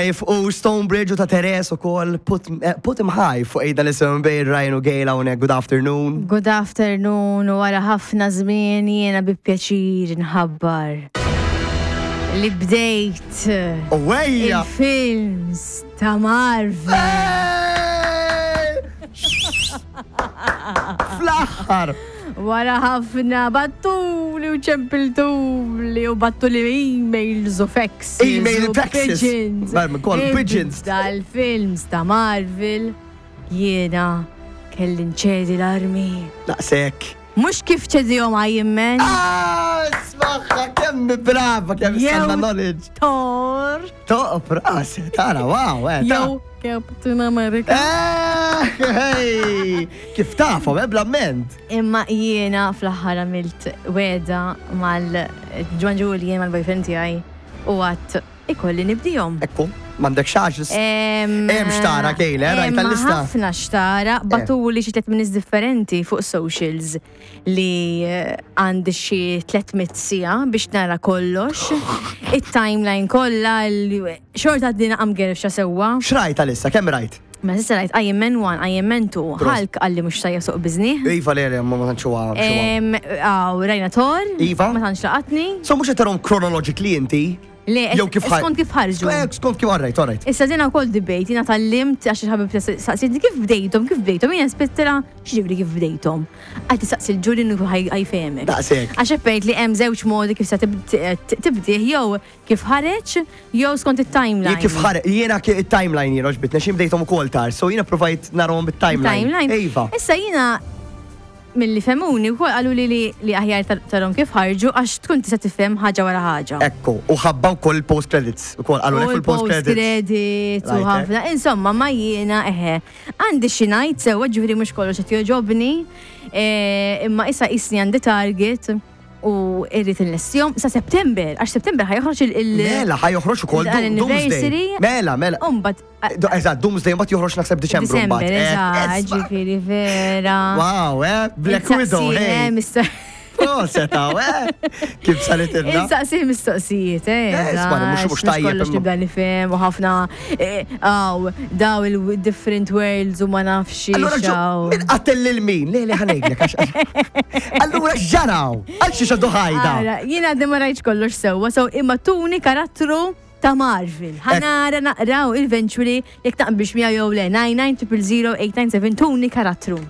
U Stonebridge u ta' Teres u kol put, eh, put him high fuq ejda li sem bejn Ryan u Gail hawnhekk. Good afternoon. Good afternoon u wara ħafna żmien jiena bi pjaċir nħabbar li bdejt Owejja! il-films ta' Marvel. Fl-aħħar! Wara ħafna battuli u ċempiltuli u battuli emails u faxes. Email u faxes. Pigeons. Barmi, kol pigeons. Dal-films ta' Marvel jiena kelli nċedi l-armi. Daqshekk. Mhux kif ċedihom Iron Man. Ah, smaħħa kemm brava kemm Jew- sanna knowledge. Thor. Toq rasi, tara, wow, eh. ta- Jew Captain America. Eh, hey, kif tafhom, eh, bl-amment. Imma jiena fl-aħħar għamilt weda mal-Ġwan Julian mal-boyfriend tiegħi u għat ikolli nibdihom. Ekku, m'għandek xaġ. Hemm xtara, Kejla, rajt tal-lista. Ħafna xtara, batuli xi tliet minis differenti fuq socials li eh, għandi xi 300 sija biex nara kollox. Il-timeline kollha, xorta għaddina għam gerfxa sewwa. Xrajt għalissa, kemm rajt? Ma sissa rajt Iron Man 1, Iron Man 2, Hulk għalli mhux sajja suq bizni. Iva le, le, ma tantx huwa. Em, Aw, rajna Thor. Iva. Ma tantx laqatni. So mhux qed tarhom chronologically inti? Le, Jew kif ħar- skont kif ħarġu. Eh, Skont kif alright, alright. Issa dina wkoll debate, jiena tal-limt għax il-ħabib saqsietni kif bdejtom, kif bdejtom, jiena spittila x'ġibri kif bdejtom. Għad saqsi l-ġuri ħajfehmek. Daqshekk. Għax eppejt li hemm żewġ modi kif se tibdih jew kif ħareġ jew skont it-timeline. Jien kif ħareġ, jiena il-timeline jiena ġbitna, xi bdejthom ukoll tar, so jiena provajt narahom bit-timeline. Timeline. Iva. Issa jiena milli femuni wkoll qalu li li li aħjar tarhom kif ħarġu għax tkun tista' tifhem ħaġa wara ħaġa. Ekku, u ħabba wkoll il-post credits, ukoll qalu U lek fil-post credits. credits u Right, eh. ħafna. Insomma, ma jiena eħe. Għandi xi ngħid sewwa ġifieri mhux kollox qed jogħġobni, eh, imma issa qisni għandi target u irrid inlestihom sa September, għax September ħajoħroġ il- il- Mela, ħajoħroġ ukoll il- Doomsday. anniversary. Mela, mela. U mbagħad Eżatt, Doomsday mbagħad joħroġ naħseb Diċembru December, mbagħad. Eh, eżatt, isma' ġifieri vera. Wow, eh, Black Insaqsi, Widow, eh, hey. misto- Proset, hawn, eh. Kif saret ilna. Insaqsi mistoqsijiet, eh. Eh, isma' li mhux- mhux tajjeb Kollox imma. nibda nifhem u ħafna, eh, aw, daw il-different worlds u ma nafx Allura ġo, xaw. min qatel lil min? Le, le, ħanejdlek. għax- Allura x'ġaraw? Għal xi xadu ħajda? Ara, Jiena għadni ma rajtx kollox sewwa, so imma tuni karattru ta' Marvel. Ħanara naqraw eventually jekk taqbilx miegħu jew le 99 000 897 tuni karattru.